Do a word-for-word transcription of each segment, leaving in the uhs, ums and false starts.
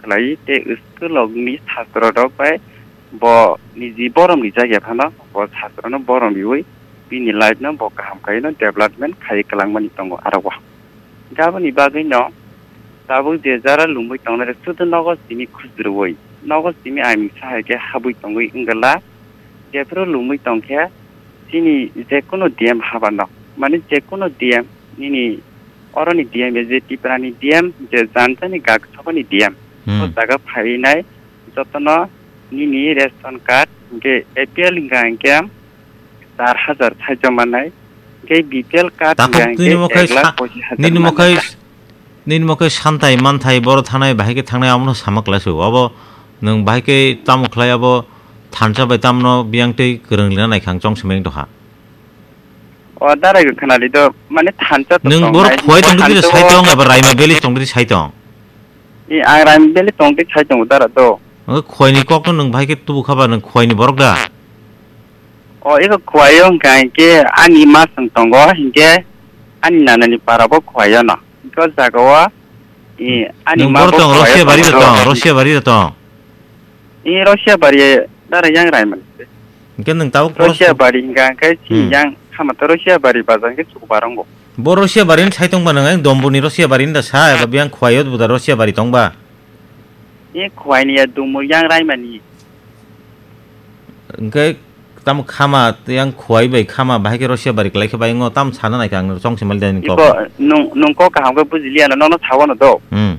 khlai tei school rokni chastra rok bai bo niji borom rijak ya phano bo chastra no borom riwi bini life no bo kaham khaino development khai kwlangmani tongo aro o. Aboni bagwi no tabuk je jara lungwi tongnai rok sudu nogo simi khujurwi nogo simi aimingsa hai khe habwi tongwi wngla. Jephru lungwi tongkhe chini jekunu D M habano, mane jekunu D M nini oroni D M je Tiprani D M je janjani gak sokoni D M. Hmm. O jaga phainai jotono nini ration card hinkhe A P L hinkha hinkhe char hajar thaichom manai, hinkhe B P L card Takhuk hinkha hinkhe nini mokhai ek lakh sa-, pochis hajar nini manai. Mokhai Nini mokhai santai manthai boro thanai bahai khe thangnai amono sama klai su. Abo nwng bahai khe tamo khlai abo thansa bai tamno biyang tei kwrwng lina nai khang chong simi wng tongkha. O darai khe khwnali do mane thansa to Nwng tong boro nai, khuai tong thansa diri sai o tong eba Raima Valley tong diri sai tong. I ang Raima Valley tong diri sai tong dara do. Nwng khuaini kokno nwng bahai khe tubu kha ba nwng khuaini borok da? O eko khuaio hwnkha hinkhe ani ma swng tongo hinkhe ani nanani para bo khuaio no. Hinkhe o jaga o, i, ani Nwng ma boro bo tong, khuaio Rosia bari tong da do. Tong, Rosia bari da tong. I Rosia bari dara yang rai man. Hinkhe nwng tabuk boro Rosia bari hwnkha hinkhe si Hmm. yang khama to Rosia bari bazar hinkhe chuk barongo. Bo Rosia bari ni sai tong ba nwng, Dombuni Rosia bari ni da sa, eba biyang khuaio bo da Rosia bari tong ba. I khuaini ya Dumur yang rai mani. Hinkhe tamo khama, yang khuai bai khama, bahai khe Rosia bari kwlai khe bai ngo, tam sana nai khe ang chong se mali dani kok. Ibo nung, nung kok kaham khe bujiliya no, nono sawo no do. Hmm.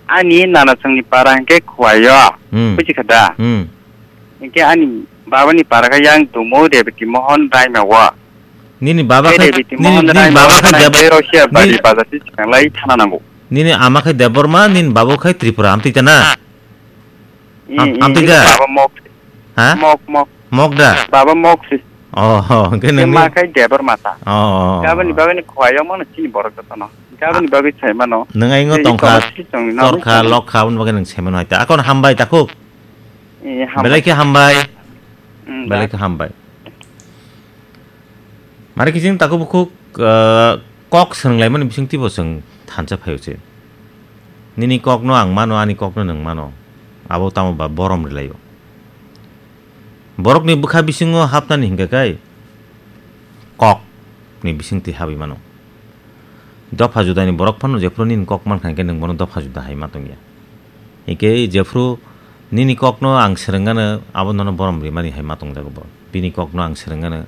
Ani nana chwngni para hinkhe khuaio. Hmm. Buji kha da? Hmm. Hinkhe ani babani para khe yang Dumu Rebiti Mohon Raima o. Nini baba Khe khe, Rebiti nini, Mohon nini Raima baba o khe nang Deb-, tei Rosia bari nini, bazar se chwng lai thana nango. Nini ama khe Debbarma, nini babo khe Tripura, amtwi ta na? I, Am-, i, amtwi i, da? Baba mok. Ha? Mok, mok. Mok da? Baba mok si. Oh, oh, hwnkhe Khe nini ma khai Debor mata. Oh, oh, oh. Gabani bagani khuaio mano chini borok jotono. Gabani Ah. bagwi sai mano. Nwng aingo Tei tongkha, ikono si chwng nang torkha, tongkha. Lokha, aboni bagwi nwng sai mano hai ta. Akon hambai takhuk. Eh, hambai. Belai khe hambai. Mm, Belai da. khe hambai. Mari kiching takhuk bukhuk, eh, kok swrwnglaimani bisingtwi bo chwng thansa phaio se. Nini kokno ang mano, ani kokno nwng mano. Abo tamo ba borom rwlaio. Borokni bwkha bisingo hapnani hinkhe kai kokni bisingtwi habwi mano. Dopha judani borok phano jephru nini kok mankha hinkhe nwng bono dopha juda hai ma tongya. Hinkhe jephru nini kokno ang swrwngano abo nono borom rimani hai ma tongjago bo. Bini kokno ang swrwngano,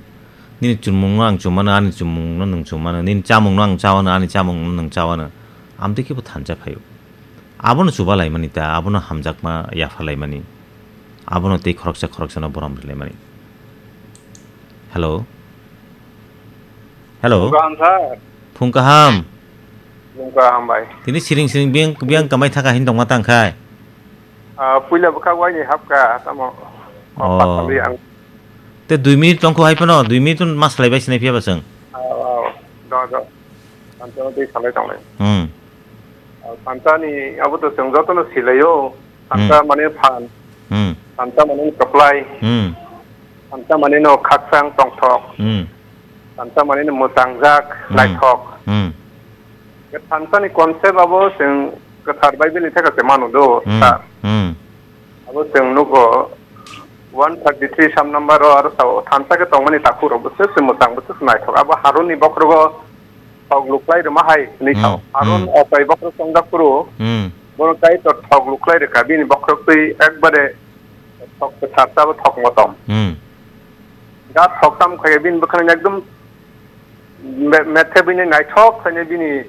nini chumungno ang chumano, ani chumungno nwng chumano, nini chamungno ang chawano, ani chamungno nwng chawano. Amtwi khe bo thansa phaio. Abono chuba laimani ta, abono hamjakma yapha laimani, abono tei khoroksa khoroksano borom rwlaimani. Hello? Hello? Phung kaham, sir. Phung kaham. Phung kaham, bai. Tini siring siring biyang, biyang kamai thaka hin tongma tang khai? Ah, puila bwkhak waini hapka, tamo. Oh. Patali ang. Te dui minute tongkho hai phano, dui minute ma salai bai sinai phiya ba chwng. Ah, ah, do, do. Tantano tei salai tonglai. Hmm. Ah, tantani abo to chwng jotono silaio. Tanta Hmm. mane phan. Hmm. Tanta mane kwplai. Hmm. Tanta mane no khakchang tongthok. Hmm. Tanta mane no mwtangjak, Hmm. naithok. Hmm. Tantani concept abo chwng kwthar Bible ni theka se manu do, Hmm. sir. Hmm. Abo chwng nugo one thirty three Psalm number o aro sao thansa khe tongmani takhuk rok bwswk se mwchang bwswk se naithok. Abo Harun ni bokhorogo thok luklai rwma hai hwnwi sao. Hmm, Harun hmm. Opai bokhorok chongjak phuru Hmm. bono Kaitor thok luklai rwkha bini bokhorok twi ekbare thok kwthar sabo thok motom. Hmm. Da thok tam khai bini bwkhani ekdom me-, methe bini naithok khaine bini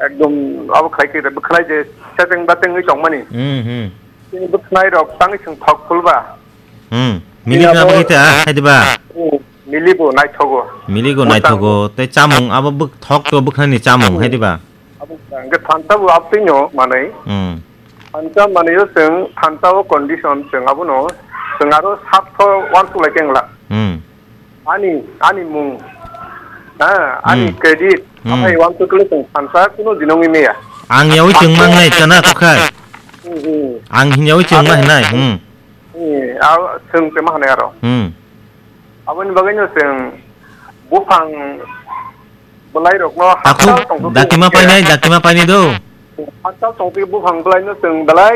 ekdom abo khlai khe bwkhlai je seteng bateng wi tongmani. Hmm, hmm. Bini bwkhlai rok tangwi chwng thok phulba. Hmm. Mili Bini na abo bagwi ta, hai diba? Hmm. Mili bo naithogo. Mili go Bwsang naithogo. Tei chamung abo bwk-, thok to bwkhlai ni chamung, Hmm. hai diba? Abo hwnkha hwnkhe thansa bo abtwino manwi. Hmm. Thansa manwi o chwng thansa o condition chwng abono chwng aro sat kho uansuk lai khe wngla. Hmm. Ani, ani mung, ha, ani Hmm. credit, Hmm. aphai uansuk le chwng thansa kuno dinong wngya. Ang yawi chwng mang nai chana kokhai. Hmm, hmm. Ang hin yawi chwng ma Abo hinai. Hmm. Hmm, abo chwng se ma hanai aro. Hmm. Aboni bagwino chwng buphang bwlairokno Takhuk hakchal tongthok daktima khe painai, daktima painai do. Hakchal tongthok buphang bwlaino chwng belai